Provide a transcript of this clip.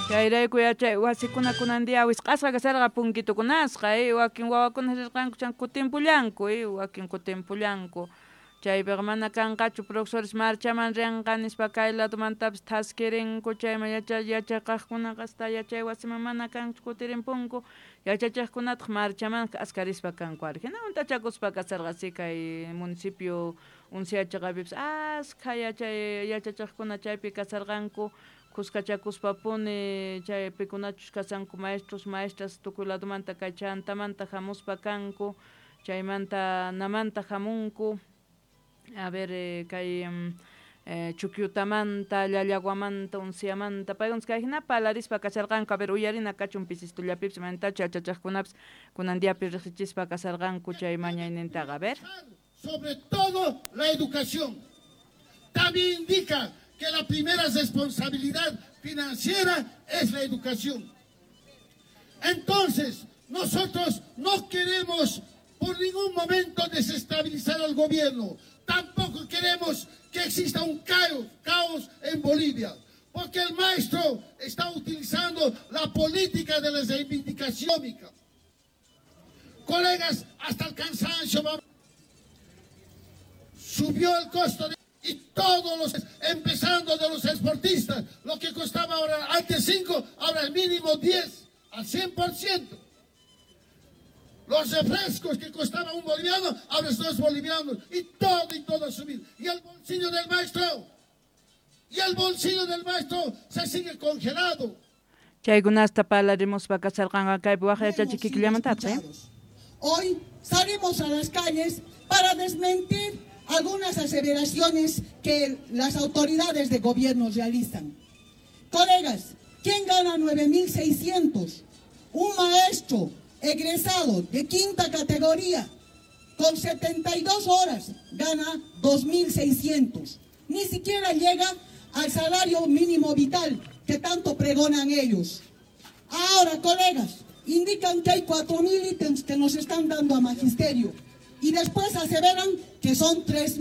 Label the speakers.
Speaker 1: Chayrayku yachay wasikuna kunan día wisq'asqa kasharqa punkitukunasqa, wakin wawakuna rirqanku chan kutimpullanku, wakin kutimpullanku. Chaypiqa mana kanqachu profesores marchaman rinqa nispa kay ladomantapis thaskirinku chayman yachaqaqkunaqa hasta yachay wasiman mana kanchu kutirimpunku yachachiqkunataq marchaman k'askarispa kanku ari. Hina hunt'achakuspa kasharqa si kay municipio Unciyachaqapipis askha yachay yachachiqkuna chaypi kasharqanku khuskachakuspapuni chay pikunachus kashanku maestros maestras tukuy ladomanta kay chantamanta hamuspa kanku chaymanta namanta hamunku. A ver, kay Chukyutamanta, Llallaguamanta, Unciamanta, paykunas kay hina palarispa kasharqanku, a ver, uyarina kachun pisistullapipis imaynatachu yachachiqkunapis kunan diapi riqsichispa kasharqanku chay mañaynintaqa, a ver.
Speaker 2: Sobre todo la educación. También indica que la primera responsabilidad financiera es la educación. Entonces, nosotros no queremos por ningún momento desestabilizar al gobierno. Tampoco queremos que exista un caos en Bolivia, porque el maestro está utilizando la política de la reivindicación. Colegas, hasta el cansancio subió el costo de, y todos los, empezando de los exportistas, lo que costaba ahora antes 5, ahora el mínimo 10 al 100%. Los refrescos que costaban un boliviano, ahora es 2 bolivianos. Y todo ha subido. Y el bolsillo del maestro, y el bolsillo del maestro se sigue congelado.
Speaker 1: Chaykunasta palarimuspa kasharqanqa kaypi waj yachachikikillamantataq, ¿eh?
Speaker 3: Hoy salimos a las calles para desmentir algunas aseveraciones que las autoridades de gobierno realizan. Colegas, ¿quién gana 9.600? Un maestro egresado de quinta categoría con 72 horas gana 2.600. Ni siquiera llega al salario mínimo vital que tanto pregonan ellos. Ahora, colegas, indican que hay 4.000 ítems que nos están dando a magisterio y después aseveran que son 3.000.